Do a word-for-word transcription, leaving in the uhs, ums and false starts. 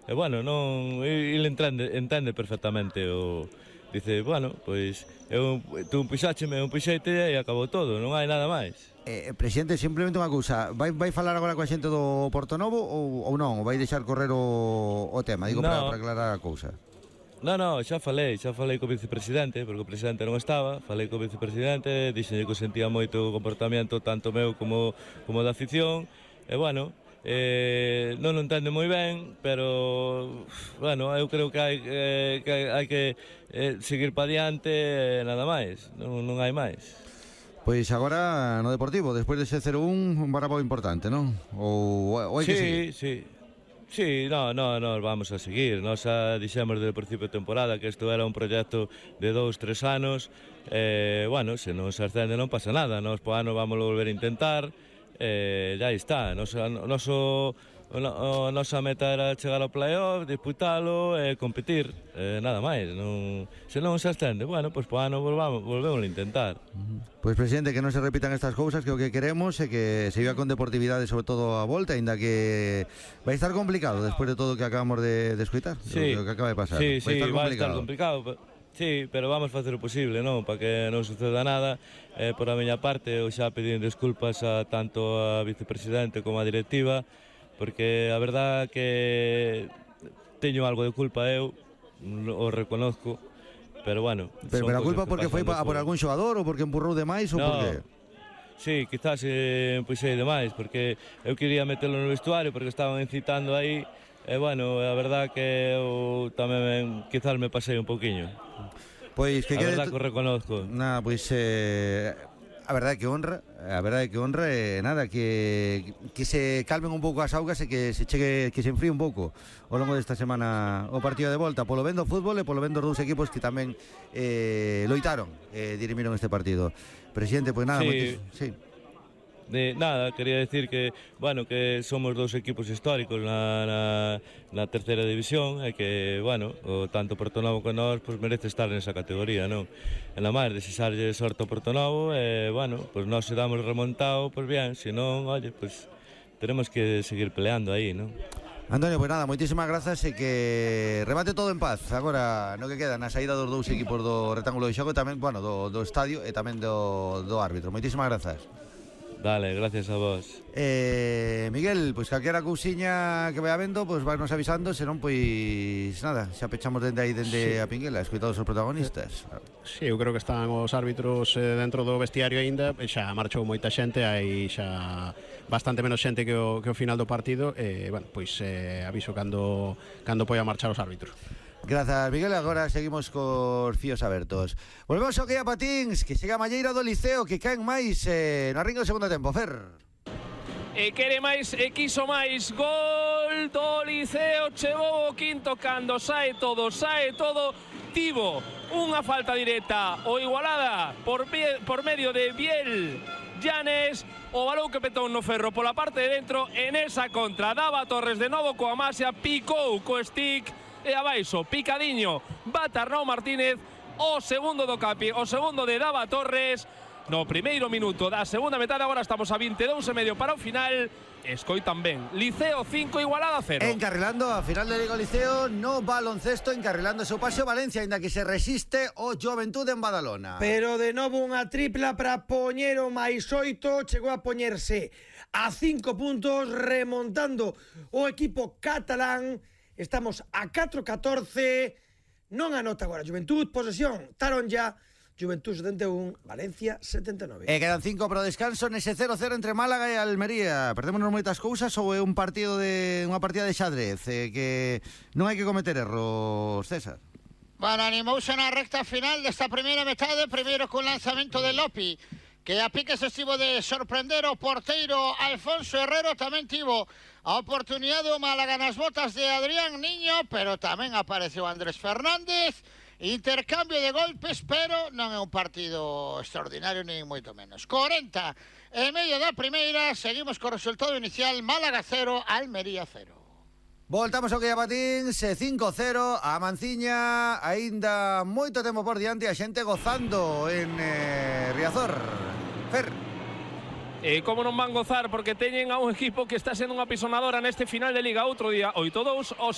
e bueno, non, ele entende, entende perfectamente o... Dice, bueno, pois, eu, tú puxácheme, eu puxeite e acabou todo, non hai nada máis. Eh, presidente, simplemente unha cousa, vai, vai falar agora coa xente do Portonovo ou, ou non? Ou vai deixar correr o, o tema? Digo, no. para, para aclarar a cousa. Non, non, xa falei, xa falei co vicepresidente, porque o presidente non estaba, falei co vicepresidente, dixenlle que sentía moito o comportamento tanto meu como, como da afición, e bueno, eh, non o entende moi ben, pero, bueno, eu creo que hai, eh, que, hai que eh, seguir pa diante e nada máis, non, non hai máis. Pois agora no Deportivo, despois dese cero un, un barabo importante, non? Ou, ou hai sí, que seguir? Sí, sí, no, no, no, vamos a seguir. Nos xa dixemos desde o principio de temporada que isto era un proxecto de dous, tres anos. Eh, bueno, se non se ascende non pasa nada. Nos po ano vamos volver a intentar. Eh, ya está. Nos, noso, o, nosa meta era chegar ao playoff, disputalo e competir. Eh, nada máis. Non, se non se ascende, bueno, pois po ano volvamos, volvemos a intentar. Uh-huh. Pois, presidente, que non se repitan estas cousas, que o que queremos é que se viva con deportividade, sobre todo a volta, ainda que vai estar complicado despois de todo o que acabamos de, de escoitar, sí, o que acaba de pasar. Sí, vai sí, estar vai estar complicado. Sí, pero vamos facer o posible, non? Para que non suceda nada. Eh, por a miña parte, eu xa pedín desculpas a tanto a vicepresidente como a directiva, porque a verdad que teño algo de culpa eu, o reconozco, pero bueno. Pero, pero a culpa porque foi por... por algún xogador ou porque empurrou demais ou no. por que? Sí, quizás eh, puxei demais, porque eu quería metelo no vestuario, porque estaban incitando aí. E, bueno, a verdad que eu tamén quizás me pasei un pouquiño. Pois que a quede... verdad que o reconozco. Nada, pois eh, a verdade que honra, a verdade que honra e eh, nada, que, que se calmen un pouco as augas e que se chegue, que se enfríe un pouco ao longo desta semana o partido de volta, polo ben do fútbol e polo ben dos dous equipos que tamén eh, loitaron e eh, dirimiron este partido. Presidente, pois nada, sí. moitis... sí. De nada, quería decir que, bueno, que somos dous equipos históricos na, na, na terceira división e que, bueno, o tanto Portonovo como nós pues, merece estar nesa categoría, non? En la máis, desexarlle sorte ao Portonovo e, bueno, pues nós se damos remontado, pues bien, se non, oye, pues tenemos que seguir peleando aí, non? Antonio, pois nada, moitísimas grazas e que remate todo en paz. Agora, no que queda, na saída dos dous equipos do rectángulo de xogo, tamén, bueno, do, do estadio e tamén do, do árbitro. Moitísimas grazas. Dale, gracias a vos. Eh, Miguel, pois calquera cousiña que vai habendo, pois vai nos avisando, senón pois nada, xa pechamos dende aí dende sí. a Pinguela, escoitados os protagonistas. Sí, eu creo que están os árbitros eh, dentro do vestiario aínda, xa marchou moita xente, hai xa bastante menos xente que o, que o final do partido, e, eh, bueno, pois eh, aviso cando, cando poida marchar os árbitros. Grazas, Miguel, agora seguimos cos fíos abertos. Volvemos ao que a patins, que chega a malleira do Liceo, que caen máis eh, no arrinco do segundo tempo, Fer. E quere máis, e quiso máis, gol do Liceo, chegou o quinto cando sae todo, sae todo, tivo unha falta directa, o Igualada por, por medio de Biel Llanes, o balón que petou no ferro pola parte de dentro, en esa contra, Dava Torres de novo coa Masia, picou co stick, e abaixo, picadiño, bata Arnau Martínez, o segundo do Capi, o segundo de Dava Torres, no primeiro minuto da segunda metade. Agora estamos a vinte e dous e medio para o final. Escoitan ben, Liceo cinco, Igualada cero. Encarrilando a final de Liga Liceo no baloncesto, encarrilando o seu paseo Valencia, ainda que se resiste o Juventude en Badalona. Pero de novo unha tripla para poñer o máis oito, chegou a poñerse a cinco puntos, remontando o equipo catalán. Estamos a catro catorce, non anota agora Juventud, posesión, Taronja, Juventud setenta e un, Valencia setenta e nove. E quedan cinco para o descanso nese cero cero entre Málaga e Almería. Perdémonos moitas cousas ou é un partido de unha partida de xadrez eh, que non hai que cometer erros, César? Bueno, animouse na recta final desta primeira metade, primeiro cun lanzamento de Lopi, que a pique se estivo de sorprender o porteiro Alfonso Herrero, tamén tivo a oportunidade o Málaga nas botas de Adrián Niño, pero tamén apareceu Andrés Fernández, intercambio de golpes, pero non é un partido extraordinario nin moito menos. corenta e medio da primeira, seguimos co resultado inicial, Málaga cero, Almería cero. Voltamos ao que a patins, cinco cero, a Manciña, aínda moito tempo por diante, a xente gozando en eh, Riazor. Fer. E como non van gozar, porque teñen a un equipo que está sendo unha pisonadora neste final de Liga. Outro día, oito dous, hoxe